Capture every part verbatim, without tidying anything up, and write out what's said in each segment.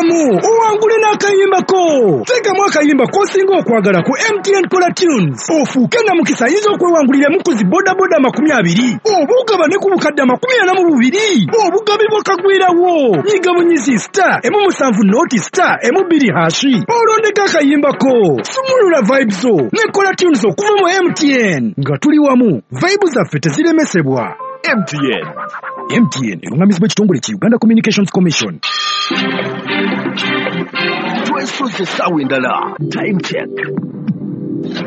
Nyigamu owangule n'akayimbako. Teekamu akayimba k'osinga okwagala ku M T N Kola Tunes, ofuuke namukisa ayinza okwewanguliramu ku zi bodaboda amakumi abiri, oba ogabane ku bukadde amakumi ana mu bubiri, obugabi bwakagwirawo. Nyiga bunyizi star emu musanvu noti star emu bbiri hashi, olondeko akayimbako. Sumulula vibes zo ne Kola Tunes okuva mu M T N. Nga tuli wamu, vibe zaffe teziremesebwa. M T N. M T N erungamizibwa ekitongole ki Uganda Communications Commission. Twesoze essaawa endala. Time check.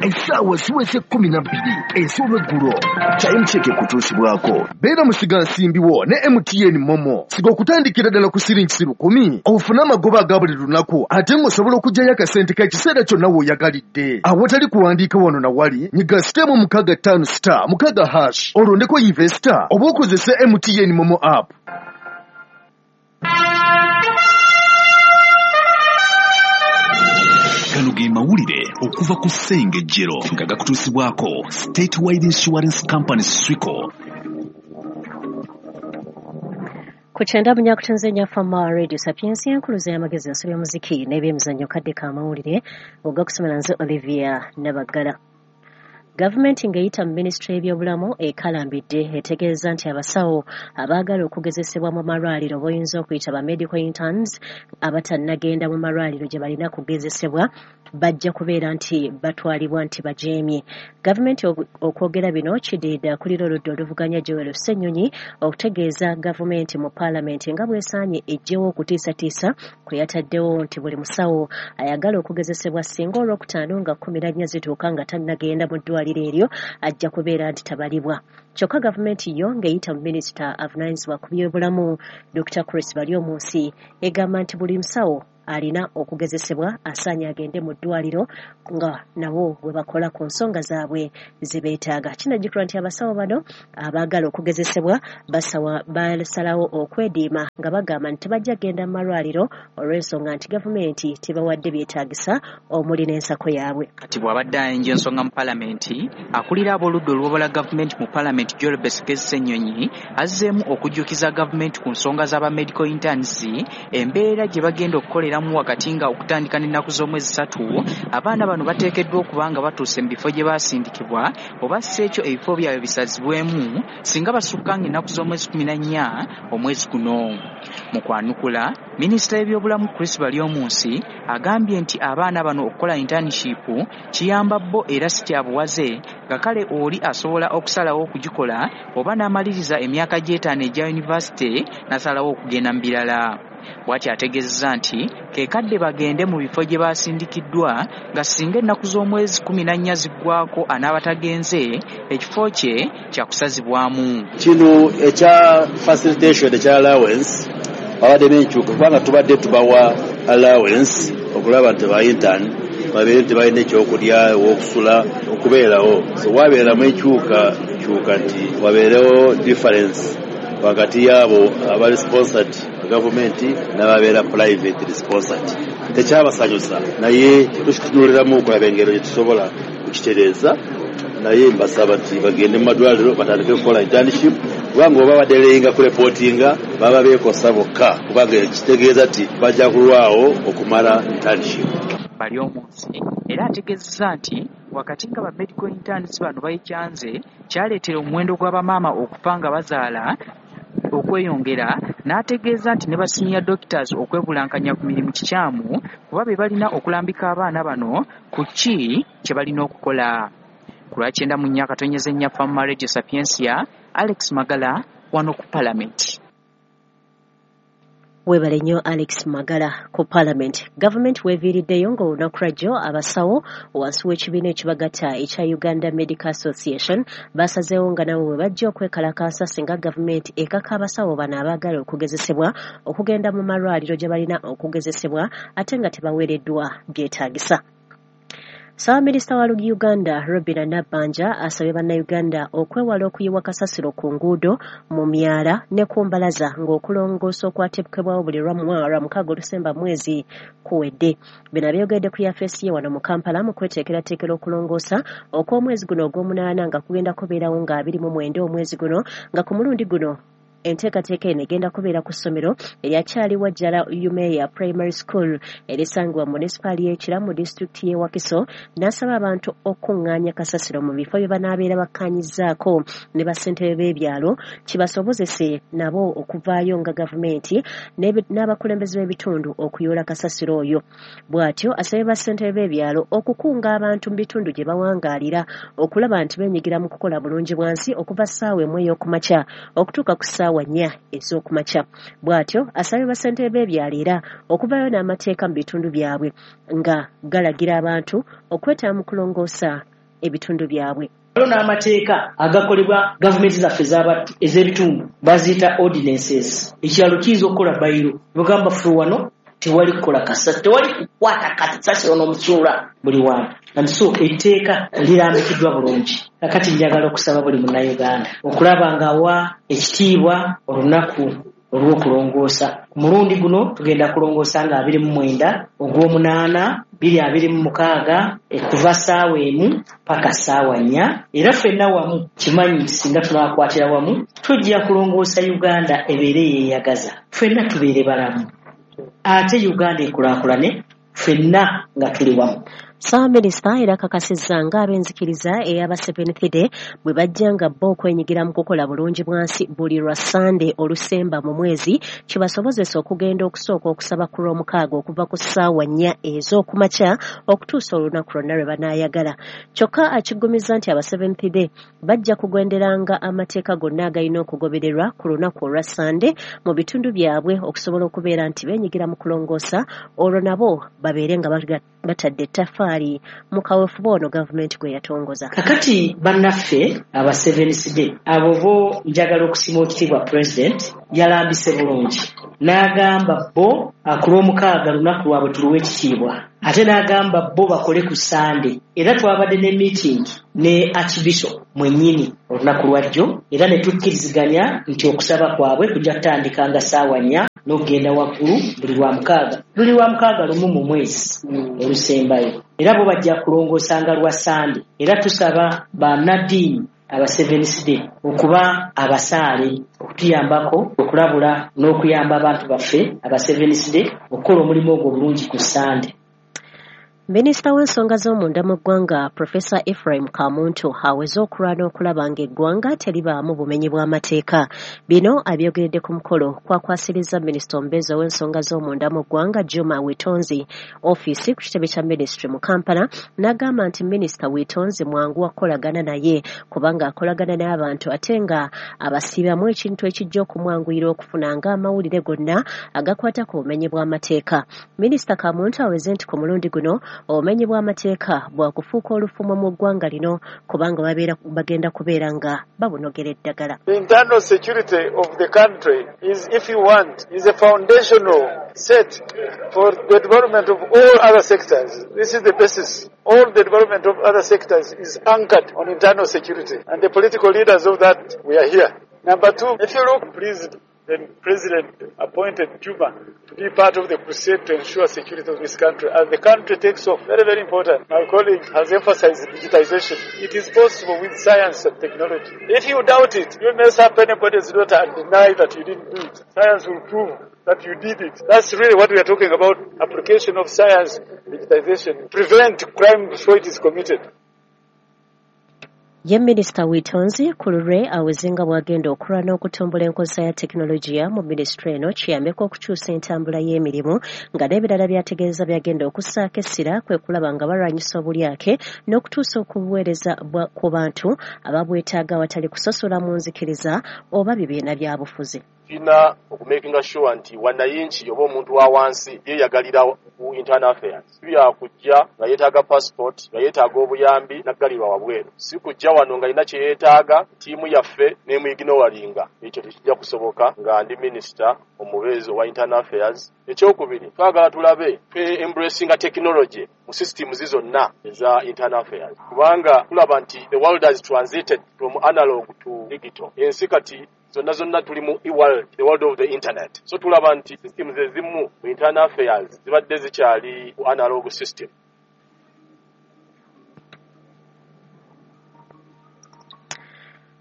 Essaawa ziweze kkumi na bbiri ez'olweggulo. Time check ekutuusibwako. Beera musigansimbi wo ne M T N Momo. Siga okutandikira ddala ku siringi lukumi, ofune amagoba aga buli lunaku, ate ng'osobola okuggyayo akasente k'ekiseera kyonna w'oyagalidde. Awatali kuwandiika wano na wali, nyiga sitemu mukaaga ttaano star mukaaga hash, olondeko investor oba okozese M T N Momo app. Gano ge mawulire okuva ku Ssengejjero nga gakutuusibwako Statewide Insurance Company Swico. Ku kyenda munyakutunze Nyafama Radio Sapiensia enkuluza y'amagezi ensobi y'omuziki n'ebyemizannyo kadde k'amawulire ogakusomera nze Olivia Nabaggala. Gavumenti ng'eyita mu minisitule y'ebyobulamu ekalambidde etegeeza nti abasawo abaagala okugezesebwa mu malwaliro boyinza okuyita ba medical interns abatannagenda mu malwaliro gye balina kugezesebwa bajja kubeera nti batwalibwa nti bajeemye. Gavumenti okwogera bino kiddiridde akulira oludda oluvuganya Joel Ssenyonyi okutegeeza gavumenti mu paalamenti nga bw'esaanye eggyewo okutiisatiisa kwe yataddewo nti buli musawo ayagala okugezesebwa singa olwokutaano nga kkumi na nnya zituuka nga tannagenda mu ddwaliro eryo ajja kubeera nti tabalibwa. Kyokka gavumenti yo ng'eyita mu minisita avunaanyizibwa ku byobulamu Dokita Chris Baryomunsi egamba nti buli musawo alina okugezesebwa asaanye agende mu ddwaliro nga nabo bwe bakola ku nsonga zaabwe ze beetaaga. Kinajjukirwa nti abasawo bano abaagala okugezesebwa basalawo okwediima nga bagamba nti tebajja kugenda mu malwaliro olw'ensonga nti gavumenti tebawadde byetaagisa omuli n'ensako yaabwe. Kati bw'abadde ayenja ensonga mu paalamenti, akulira ab'oludda oluwabula gavumenti mu paalamenti Joel Besigye Ssenyonyi azzeemu okujjukiza gavumenti ku nsonga z'aba medical interns, embeera gye bagenda okukolera wakati nga okutandika n'ennaku z'omwezi ssatu abaana bano bateekeddwa okuba nga batuuse mu bifo gye baasindikibwa oba si ekyo ebifo byabwe bisazibwemu singa basukka ng'ennaku z'omwezi kkumi na nnya omwezi guno. Mu kwanukula, minisita w'ebyobulamu Chris Baryomunsi agambye nti abaana bano okukola internship kiyamba bo era si kya buwaze nga kale oli asobola okusalawo okugikola oba n'amaliriza emyaka gy'etaano egya yunivasite n'asalawo okugenda mu birala. Bw'atyo ategeezezza nti ke kadde bagende mu bifo gye basindikiddwa nga singa ennaku z'omwezi kkumi na nnya ziggwako anaaba tagenze ekifo kye kyakusazibwamu. Kino ekya facilitation ekya allowance babadde n'enkyuka kubanga tubadde tubawa allowance okulaba nti ba intern babeere nti balina ekyokulya owokusula okubeerawo. So wabeeramu enkyuka kyuka nti wabeerewo difference wakati yaabo abali sponsored gavumenti n'ababeera private sponsored. Tekyabasanyusa naye tukitunuliramu okulaba engeri gye tusobola kukitereeza, naye mbasaba nti bagende mu madwaliro batandike okukola internship kubanga oba badereyinga kureportinga baba beekosa bokka kubanga kitegeeza nti bajja kulwawo okumala internship. Baryomunsi era ategeezezza nti wakati nga ba medical interns bano bayikyanze kyaleetera omuwendo gw'abamaama okufa nga bazaala okweyongera, n'ategeeza nti ne ba senior doctors okwebulankanya ku mirimu kikyamu kuba be balina okulambika abaana bano ku ki kye balina okukola. Ku lwa kyenda mu nnya akatonyeza ennya Fama Radio Sapiensia, Alex Magala wano ku Palamenti. Weebale nnyo Alex Magala ku Parliament. Gavumenti weeviiriddeyo ng'olunaku lwajjo abasawo wansi w'ekibiina ekibagatta ekya Uganda Medical Association basazeewo nga nabo bwe bajja okwekalakaasa singa gavumenti ekaka abasawo bano abaagala okugezesebwa okugenda mu malwaliro gye balina okugezesebwa ate nga tebaweereddwa byetaagisa. Ssaabaminisita wa Uganda Robinah Nabbanja asabye bannayuganda okwewala okuyiwa kasasiro ku nguudo, mu myala ne ku mbalaza ng'okulongoosa okwateekebwawo buli lwa mukaaga olusemba mwezi kuwedde. Bino abyogedde ku yafeesi ye wano mu Kampala mu kweteekerateekera okulongoosa okw'omwezi guno ogw'omunaana nga kugenda kubeerawo nga abiri mu mwenda omwezi guno, nga ku mulundi guno Enteekateeka eno egenda kubeera ku ssomero eryakyali Wajjala Umeya Primary School erisangibwa mu munisipaali y'e Kira mu disitulikiti y'e Wakiso, n'asaba abantu okuŋŋaanya kasasiro mu bifo bye banaabeera bakkaanyizzaako ne bassentebe b'ebyalo kibasobozese nabo okuvaayo nga gavumenti n'abakulembeze b'ebitundu okuyoola kasasiro oyo. Bw'atyo asabye bassentebe b'ebyalo okukunga abantu mu bitundu gye bawangaalira okulaba nti beenyigira mu kukola bulungi bwansi okuva ssaawa emu ey'okumakya okutuuka ku ssaawa nnya ez'okumakya. Bw'atyo asabye bassentebe b'ebyalo era okuvaayo n'amateeka mu bitundu byabwe nga galagira abantu okwetaba mu kulongoosa ebitundu byabwe. Waliwo n'amateeka agakolebwa gavumenti zaffe ez'ebitundu baziyita ordinances. Ekyalo kiyinza okukola bayiro bagamba ffe wano tewali kukola kasasiro, tewali kukwata kasasiro n'omusuula buli wantu. And so etteeka lirambikiddwa bulungi. Kakati njagala okusaba buli munnayuganda okulaba ng'awa ekitiibwa olunaku olw'okulongoosa. Ku mulundi guno tugenda kulongoosa nga abiri mu mwenda ogw'omunaana bbiri abiri mu mukaaga kuva ssaawa emu paka ssaawa nnya. Era ffenna wamu kimanyi nti singa tunaakwatira wamu tujja kulongoosa Uganda ebeere yeeyagaza, ffenna tubeere balamu, ate Uganda ekulaakulane ffenna nga tuli wamu. Ssaabaminisita era akakasizza ng'ab'enzikiriza ey'aba Seventh Day bwe bajja nga bo okwenyigira mu kukola bulungi bwansi buli lwa Ssande olusemba mu mwezi kibasobozesa okugenda okusooka okusaba ku Lwomukaaga okuva ku ssaawa nnya ez'okumakya okutuusa olunaku lwonna lwe banaayagala. Kyokka akiggumiza nti aba Seventh Day bajja kugenderanga amateeka gonna agalina okugobererwa ku lunaku olwa Ssande mu bitundu byabwe okusobola okubeera nti beenyigira mu kulongoosa olwo nabo babeere nga batadde ettaffaali mu kaweefube ono gavumenti gwe yatongoza. Kakati bannaffe aba Seventh Day abo bo njagala okusiima ekitiibwa President yalambise bulungi n'agamba bo ku Lwomukaaga lunaku lwabwe tuluwe ekitiibwa, ate n'agamba bo bakole ku Ssande. Era twabadde ne meeting ne Archbishop mwennyini olunaku lwajjo era ne tukkiriziganya nti okusaba kwabwe kujja kutandika nga ssaawa nnya n'okugenda waggulu buli lwa mukaaga, luli lwa mukaaga lumu mu mwezi olusembayo. Era bo bajja kulongoosanga lwa Ssande. Era tusaba bannaddiini aba Seventh Day okuba abasaale okutuyambako okulabula n'okuyamba abantu baffe aba Seventh Day okukola omulimu ogwo obulungi ku Ssande. Minisita w'ensonga z'omunda mu ggwanga Professor Ephraim Kamuntu aweze okulwana okulaba ng'eggwanga teribaamu bumenyi bw'amateeka. Bino abyogeredde ku mukolo kwakwasiriza minisita omubeezi ow'ensonga z'omunda mu ggwanga Juma Witonzi ofiisi ku kitebe kya minisitule mu Kampala, n'agamba nti minisita Witonzi mwangu wa kukolagana naye kubanga akolagana n'abantu ate nga abasiibamu ekintu ekijja okumwanguyira okufuna ng'amawulire gonna agakwata ku bumenyi bw'amateeka. Minisita Kamuntu aweze nti ku mulundi guno obumenyi bw'amateeka bwakufuuka olufumo mu ggwanga lino kubanga babeera bagenda kubeera nga babunogera eddagala. The internal security of the country is, if you want, is a foundational set for the development of all other sectors. This is the basis. All the development of other sectors is anchored on internal security. And the political leaders of that, we are here. Number two, if you look, please, the president appointed Juba to be part of the crusade to ensure security of this country. As the country takes off, very, very important. My colleague has emphasized digitization. It is possible with science and technology. If you doubt it, you mess up anybody's daughter and deny that you didn't do it. Science will prove that you did it. That's really what we are talking about, application of science, digitization. Prevent crime before it is committed. Ye Minisita Witonzi ku lulwe aweze nga bw'agenda okulwana okutumbula enkozesa ya tekinologiya mu minisitule eno kiyambeko okukyusa entambula y'emirimu nga n'ebirala by'ategeeza by'agenda okussaako essira kwe kulaba nga balwanyisa obulyake n'okutuusa okubuweereza ku bantu ababwetaaga awatali kusosola mu nzikiriza oba bibiina bya bufuzi. Tulina okumakinga sure nti wananchi oba omuntu wa wansi yeeyagalira ku internal affairs. Byakujja nga yeetaaga passport, nga yeetaaga obuyambi n'aggalirwa wabweru. Si kujja wano nga alina kye yeetaaga, ttiimu yaffe n'emwignoringa. Ekyo tekijja kusoboka nga ndi minisita omubeezi owa internal affairs. Ekyokubiri, twagala tulabe twe embracinga technology mu systems zonna eza internal affairs. Kubanga tulaba nti the world has transited from analog to digital. Ensi kati zonna zonna tuli mu e-world, the world of the internet. So tulaba nti systems ezimu mu internal affairs zibadde zikyali ku analog system.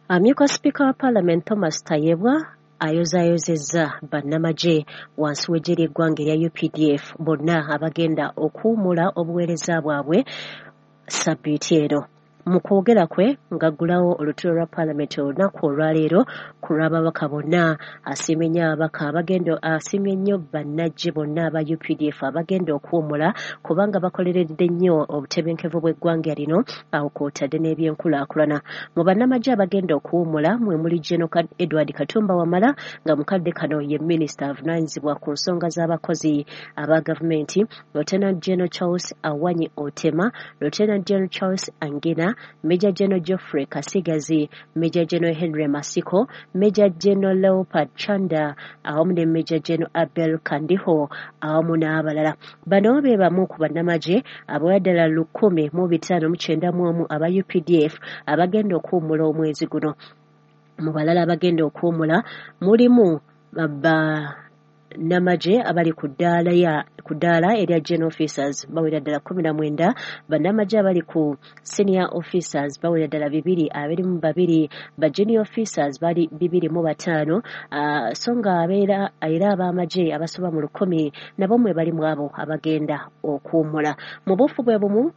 Amyuka Sipiika wa Parliament Thomas Tayebwa Ayozaayozezza bannamagye wansi w'eggye ly'eggwanga erya U P D F bonna abagenda okuwummula obuweereza bwabwe sabbiiti eno. Mu kwogera kwe ng'aggulawo olutuula lwa paalamenti olunaku olwaleero ku lw'ababaka bonna, asiimye nnyo ababaka abagenda asiimye nnyo bannagye bonna aba U P D F abagenda okuwummula kubanga bakoleredde nnyo obutebenkevu bw'eggwanga lino awo kw'otadde n'ebyenkulaakulana. Mu bannamagye abagenda okuwummula mwe muli General Edward Katumba Wamala nga mukadde kano ye minisita avunaanyizibwa ku nsonga z'abakozi aba gavumenti, Lieutenant General Charles Awanyi Otema, Lieutenant General Charles Angina, Major General Geoffrey Kasigazi, Major General Henry Masiko, Major General Leopard Chanda awamu ne Major General Abel Kandiho awamu n'abalala. Bano be bamu ku bannamagye abawera ddala lukumi mu bitaano mu kyenda mu omu aba U P D F abagenda okuwummula omwezi guno. Mu balala abagenda okuwummula mulimu ba namagye abali ku ddaala ya ku ddaala erya general officers bawera ddala kkumi na mwenda, bannamagye abali ku senior officers bawera ddala bibiri abiri mu babiri, ba junior officers bali bibiri mu bataano, uh, so nga abeera era ab'amagye abasoba mu lukumi nabo mwe bali mu abo abagenda okuwummula. Mu buufu bwe bumu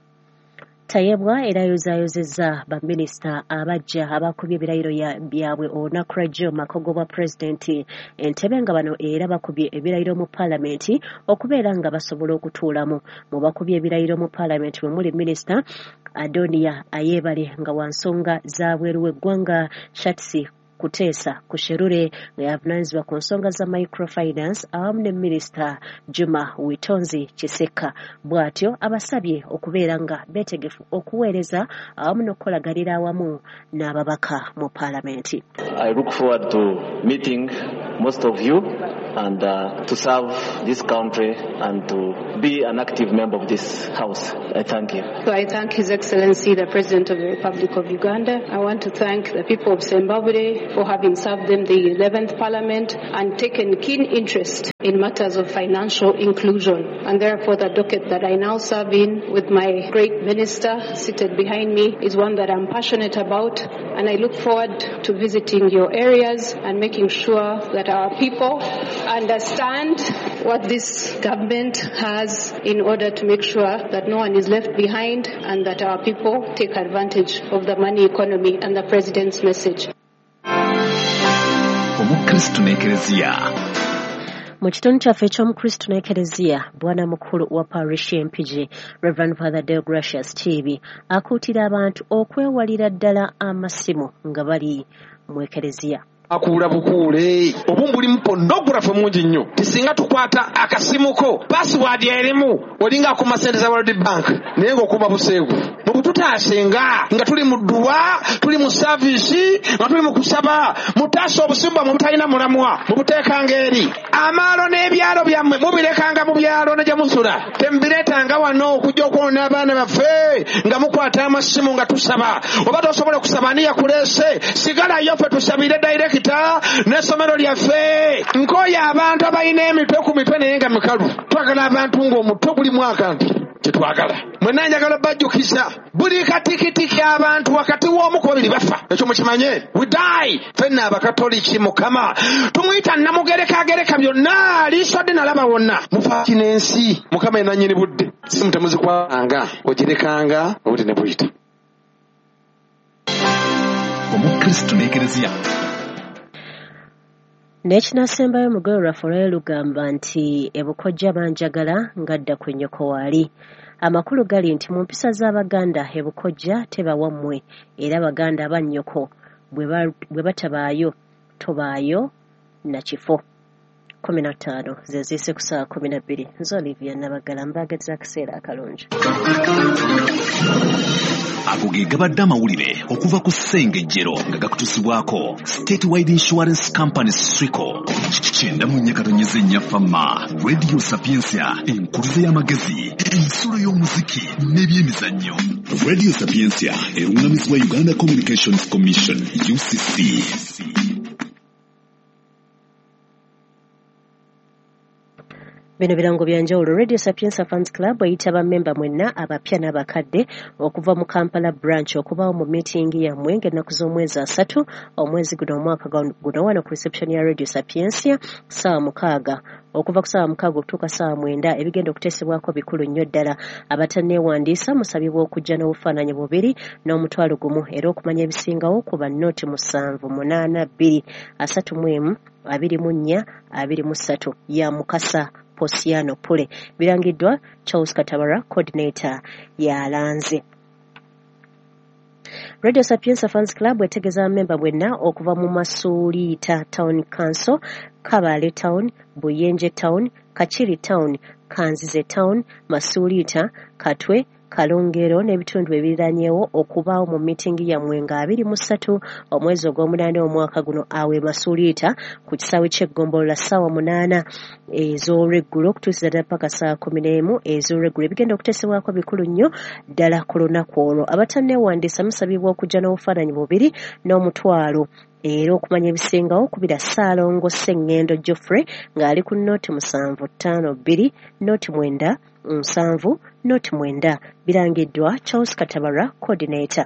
Tayebwa era ayozaayozezza baminisita abajja abakubye ebirayiro byabwe olunaku lwajjo makogo bwa pulezidenti Entebbe nga bano era bakubye ebirayiro mu paalamenti okubeera nga basobola okutuulamu. Mu bakubye ebirayiro mu paalamenti mwe muli minisita Adonia Ayebare nga wa nsonga za bweru w'eggwanga, Shatsi Kuteesa Kusherure nga yavunaanyizibwa ku nsonga za microfinance awamu ne minisita Juma Witonzi Kiseka. Bw'atyo abasabye okubeera nga beetegefu okuweereza awamu n'okukolaganira awamu n'ababaka mu paalamenti. I look forward to meeting most of you and uh, to serve this country and to be an active member of this house. I thank you. So I thank His Excellency the President of the Republic of Uganda. I want to thank the people of Zimbabwe for having served them the eleventh Parliament and taken keen interest in matters of financial inclusion. And therefore the docket that I now serve in with my great minister seated behind me is one that I'm passionate about, and I look forward to visiting your areas and making sure that our people understand what this government has in order to make sure that no one is left behind and that our people take advantage of the money economy and the President's message. Omukristu n'Ekereziya. Mu kitundu kyaffe eky'Omukristu n'Ekereziya, bwana mukulu wa parish Mpigi Reverend Father Deogracius Kiibi akuutira abantu okwewalira ddala amasimu nga bali mu Ekereziya. Akuula bukuule obumu bulimu pornography mungi nnyo, tisinga tukwata akasimuko password erimu olinga akuma sente za World Bank naye ng'okuuma buseegu. Mubututaasenga nga tuli mu dduwa, tuli mu saavisi, nga tuli mu kusaba, mutaasa obusimu bwammwe butalina mulamwa, mubuteekanga eri. Amaalo n'ebyalo byammwe mubirekanga mu byalo ne gye musula, temubireetanga wano okujja okwonona abaana baffe nga mukwata amasimu nga tusaba. Oba tosobola kusaba ani yakuleese, sigalayo ffe tusabire direct n'essomero lyaffe. Nkooye abantu abalina emitwe ku mitwe naye nga mikalu. Twagala abantu ng'omutwe gulimu akantu tetwagala. Mwenna njagala obbajjukiza buli katikitiki abantu wakati w'omu ku babiri bafa, ekyo mukimanye. We die. Ffenna Abakatoliki Mukama tumuyita Namugereka agereka byonna, liiso dde nalaba wonna. Mufa ki n'ensi, Mukama ye nannyini budde, simu temuzikwanga, ogirekanga obudde ne buyita. Omukristu n'Ekereziya. N'ekinasembayo mu lugero lwaffe olwaleero lugamba nti ebukojja banjagala ngadda ku nnyoko waali. Amakulu gali nti mu mpisa z'Abaganda ebukojja teba wammwe, era Baganda abannyoko bwe batabaayo tobaayo na kifo. Kumi na ttaano ze ziise ku ssaawa kumi na bbiri. Nze Olivia Nabagala mbaagaliza akaseera akalungi. Ago ge gabadde amawulire okuva ku Ssengejjero nga gakutuusibwako Statewide Insurance Company Swico. Kyenda mu nnya katonnyeze nnya Fama Radio Sapientia, enkuluze y'amagezi, ensulo y'omuziki n'ebyemizannyo. Radio Sapientia erungamizibwa Uganda Communications Commission U C C. Bino birango bya njawulo. Radio Sapientia Fans Club eyita bammemba mwenna abapya n'abakadde okuva mu Kampala branch okubaawo mu meeting yammwe ng'ennaku z'omwezi asatu omwezi guno omwaka guno wano ku reception ya Radio Sapientia ssaawa mukaaga okuva ku ssaawa mukaaga okutuuka ssaawa mwenda. Ebigenda okuteesebwako bikulu nnyo ddala. Abatanneewandiisa musabibwa okujja n'obufaananyi bubiri n'omutwalo gumu, era okumanya ebisingawo ku bannooti musanvu munaana bbiri asatu mu emu abiri mu nnya abiri mu ssatu ya Mukasa Posiano Pule. Birangiddwa Charles Katabara, coordinator yalanze. Radio Sapientia Fans Club etegeeza memba bwenna okuva mu Masuliita Town Council, Kabale Town, Buyenje Town, Kachiri Town, Kanzize Town, Masuliita, Katwe, Kalongero n'ebitundu ebiriranyeewo okubaawo mu mitingi yammwe nga abiri mu ssatu omwezi ogw'omunaana omwaka guno awe Masuliita ku kisaawe ky'eggombolola ssaawa munaana ez'olweggulo okutuusiza ddala paka ssaawa kkumi n'emu ez'olweggulo. Ebigenda okuteesebwako bikulu nnyo ddala ku lunaku olwo. Abatanneewandiisa musabibwa okujja n'obufaananyi bubiri n'omutwalo, era okumanya ebisingawo kubira Ssaalongo Sseŋŋendo Geoffrey ng'ali ku nnooti musanvu ttaano bbiri nnooti mwenda nsanvu nnooti mwenda. Birangiddwa Charles Katabara, coordinator.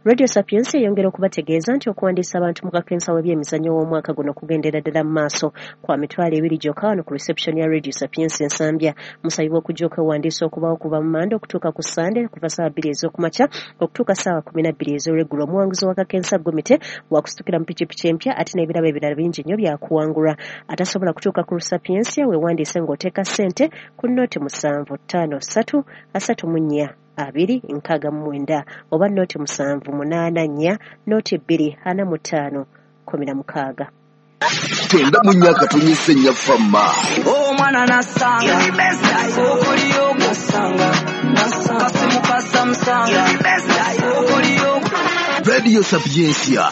Radio Sapientia eyongera okubategeeza nti okuwandiisa abantu mu kakensa w'ebyemizannyo w'omwaka guno kugendera ddala mu maaso kwa mitwalo ebiri gyokka wano ku reception ya Radio Sapientia Nsambya. Musabibwa okujja okwewandiisa okubaawo kuva mu Mande okutuuka ku Sande kuva ssaawa bbiri ez'okumakya okutuuka ssaawa kkumi na bbiri ez'olweggulo. Omuwanguzi wa kakensa Gomite wakusitukira mu pikipiki empya ate n'ebirabo ebirala bingi nnyo byakuwangulwa. Atasobola kutuuka ku Sapientia weewandiise ng'oteeka ssente ku nnooti musanvu ttaano ssatu asatu mu nnya abiri nkaaga mu mwenda oba nnooti musanvu munaana nnya nnooti bbiri ana mu ttaano kkumi na mukaaga. Kyenda mu nnya akatonyese nnya fama. Omwana nasanga okoliyo nasanga kasimu ka Samsung okoliyo. Radio Sapientia.